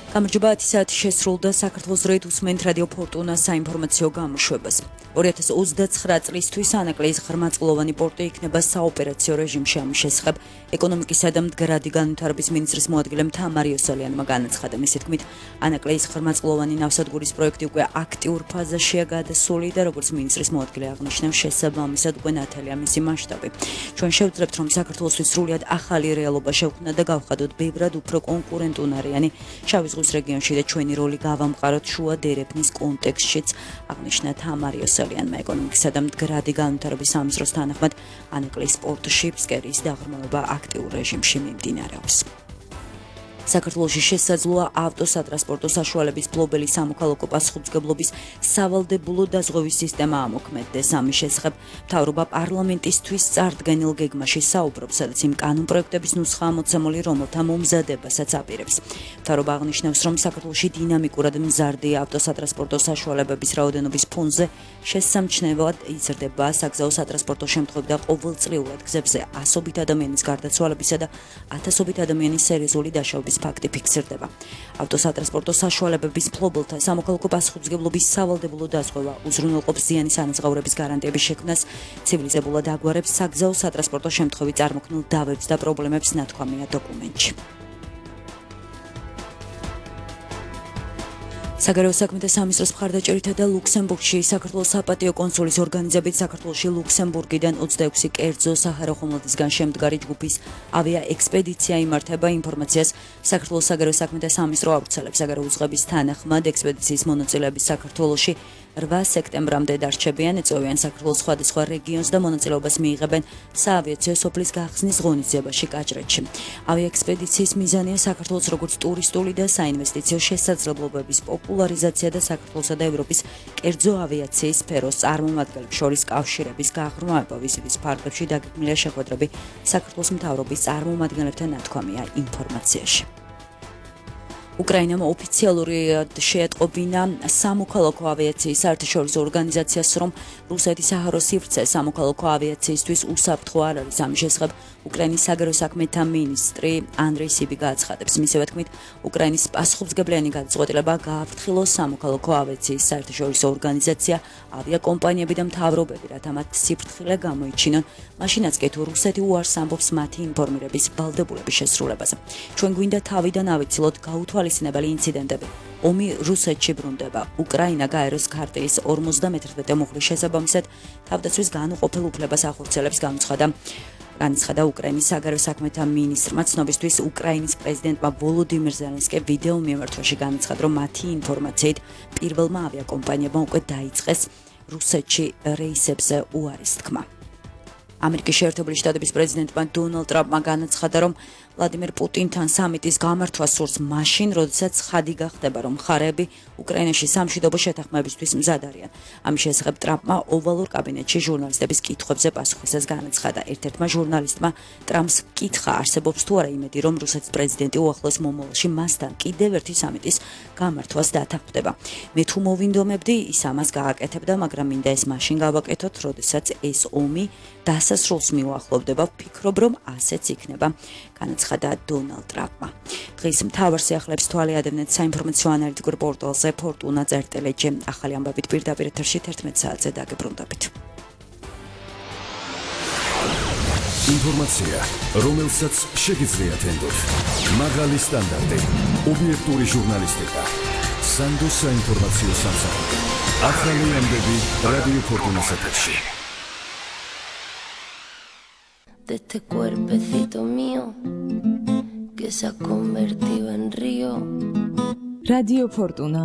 გამარჯობა 10 საათი შესრულდა საქართველოს დროით უსმენთ რადიო ფორტუნას საინფორმაციო გამოშვებას. 2029 წლისთვის ანაკლიის ღრმაწყლოვანი პორტი იქნება საოპერაციო რეჟიმში. ამის შესახებ ეკონომიკისა და მდგრადი განვითარების მინისტრის მოადგილემ თამარ იოსელიანმა განაცხადა. მისი თქმით, ანაკლიის ღრმაწყლოვანი ნავსადგურის პროექტი უკვე აქტიურ ფაზაშია გადასული და როგორც მინისტრის მოადგილე აღნიშნავს, შესაბამისად უკვე ნათელია მისი მასშტაბი. ჩვენ შევძლებთ, რომ საქართველოსთვის სრულიად ახალი რეალობა შევქმნათ და გავხადოთ ბევრად უფრო კონკურენტუნარიანი შავი ზღვის რეგიონში და ჩვენი როლი გავამყაროთ შუა დერეფნის კონტექსტშიც, აღნიშნა თამარ იოსელიანმა. ეკონომიკისა და მდგრადი განვითარების სამინისტროს თანახმად ანაკლიის პორტში ფსკერის დაღრმავება აქტიურ რეჟიმში მიმდინარეობს. საქართველოში შესაძლოა ავტოსატრანსპორტო საშუალების ფლობელი სამოქალაქო პასუხისმგებლობის სავალდებულო დაზღვევის სისტემა ამოქმედდეს. ამის შესახებ მთავრობა პარლამენტისთვის წარდგენილ გეგმაში საუბრობს, სადაც იმ კანონპროექტების ნუსხაა მოცემული, რომელთა მომზადებასაც აპირებს. მთავრობა აღნიშნავს, რომ საქართველოში დინამიკურად მზარდი ავტოსატრანსპორტო საშუალებების რაოდენობის ფონზე შესამჩნევად იზრდება საგზაო სატრანსპორტო შემთხვევები და ყოველწლიურად გზებზე ასობით ადამიანის გარდაცვალებისა და ათასობით ადამიანის სერიოზული დაშავების ფაქტი ფიქსირდება. ავტოსატრანსპორტო საშუალებების ფლობელთა სამოქალაქო პასუხისმგებლობის სავალდებულო დაზღვევა უზრუნველყოფს ზიანის ანაზღაურების გარანტიების შექმნას, ცივილიზებულად აგვარებს საგზაო სატრანსპორტო შემთხვევით წარმოქმნილ დავებს და პრობლემებს, ნათქვამია დოკუმენტში. საგარეო საქმეთა სამინისტროს მხარდაჭერითა და ლუქსემბურგში საქართველოს საპატიო კონსულის ორგანიზებით საქართველოში ლუქსემბურგიდან 26 კერძო საჰაერო ხომალდისგან შემდგარი ჯგუფის ავია ექსპედიცია იმართება. ინფორმაციას საქართველოს საგარეო საქმეთა სამინისტრო ავრცელებს. საგარეო უწყების თანახმად ექსპედიციის მონაწილეები საქართველოში 8 სექტემბრამდე დარჩებიან, ეწევიან საქართველოს სხვადასხვა რეგიონს და მონაწილეობას მიიღებენ საავიაციო სოფლის გახსნის ღონისძიებაში კაჭრეთში. ავიაექსპედიციის მიზანია საქართველოს როგორც ტურისტული და საინვესტიციო შესაძლებლობების პოპულარიზაცია და საქართველოსა და ევროპის კერძო ავიაციის სფეროს წარმომადგენლებს შორის კავშირების გაღრმავება. ვიზიტის ფარგლებში დაგეგმილია შეხვედრები საქართველოს მთავრობის წარმომადგენლებთან, ნათქვამია ინფორმაციაში. უკრაინამ ოფიციალურად შეატყობინა სამოქალაქო ავიაციის საერთაშორისო ორგანიზაციას, რომ რუსეთის საჰაერო სივრცე სამოქალაქო ავიაციისთვის უსაფრთხო არ არის. ამის შესახებ უკრაინის საგარეო საქმეთა მინისტრი ანდრეი სიბი გააცხადებს. მისივე თქმით, უკრაინის პასუხისმგებლიანი გადაწყვეტილება გააფრთხილოს სამოქალაქო ავიაციის საერთაშორისო ორგანიზაცია, ავიაკომპანიები და მთავრობები, რათა მათ სიფრთხილე გამოიჩინონ, მაშინაც კი თუ რუსეთი უარს ამბობს მათი ინფორმირების ვალდებულების შესრულებაზე. ჩვენ გვინდა თავიდან ავიცილოთ გაუთვალისწინებელი ინციდენტები. ომი რუსეთში ბრუნდება. უკრაინა გაეროს ქარტიის 51 მუხლის შესაბამისად თავდაცვის განუყოფელ უფლებას ახორციელებს, განაცხადა უკრაინის საგარეო საქმეთა მინისტრმა. ცნობისთვის უკრაინის პრეზიდენტმა ვოლოდიმირ ზელენსკიმ ვიდეო მიმართვაში განაცხადა, რომ მათი ინფორმაციით პირველმა ავიაკომპანიებმა უკვე დაიწყეს რუსეთში რეისებზე უარის თქმა. ამერიკის შეერთებული შტატების პრეზიდენტმა დონალდ ტრამპმა განაცხადა, რომ ვლადიმერ პუტინთან სამიტის გამართვა სურს მაშინ, როდესაც ხადი გახდება, რომ მხარეები უკრაინაში სამშვიდობო შეთანხმებისთვის მზად არიან. ამის შესახებ ტრამპმა ოვალურ კაბინეტში ჟურნალისტების კითხვებზე პასუხისას განაცხადა. ერთ-ერთმა ჟურნალისტმა ტრამპს კითხა, არსებობს თუ არა იმედი, რომ რუსეთის პრეზიდენტი უახლოეს მომავალში მასთან კიდევ ერთი სამიტის გამართვას დათანხმდება. მე თუ მოვინდომებდი, ის ამას გააკეთებდა, მაგრამ მინდა ეს მაშინ გავაკეთოთ, როდესაც ეს ომი დასასრულს მიუახლოვდება. ვფიქრობ, რომ ასეც იქნება, განაცხადა დონალდ ტრამპმა. დღის მთავარ სიახლეებს თვალი ადევნეთ საინფორმაციო ანალიტიკურ პორტალზე ფორტუნა წერტელეჯი. ახალი ამბებით პირდაპირ ეთერში 11 საათზე დაგებრუნდებით. ინფორმაცია, რომელსაც შეგიძლიათ ენდოთ. მაღალი სტანდარტი, ობიექტური ჟურნალისტიკა. სანდოს საინფორმაციო სამსახური. ახალი ამბები რადიო ფორტუნას ეთერში. De este cuerpecito mío que se ha convertido en río. Radio Fortuna.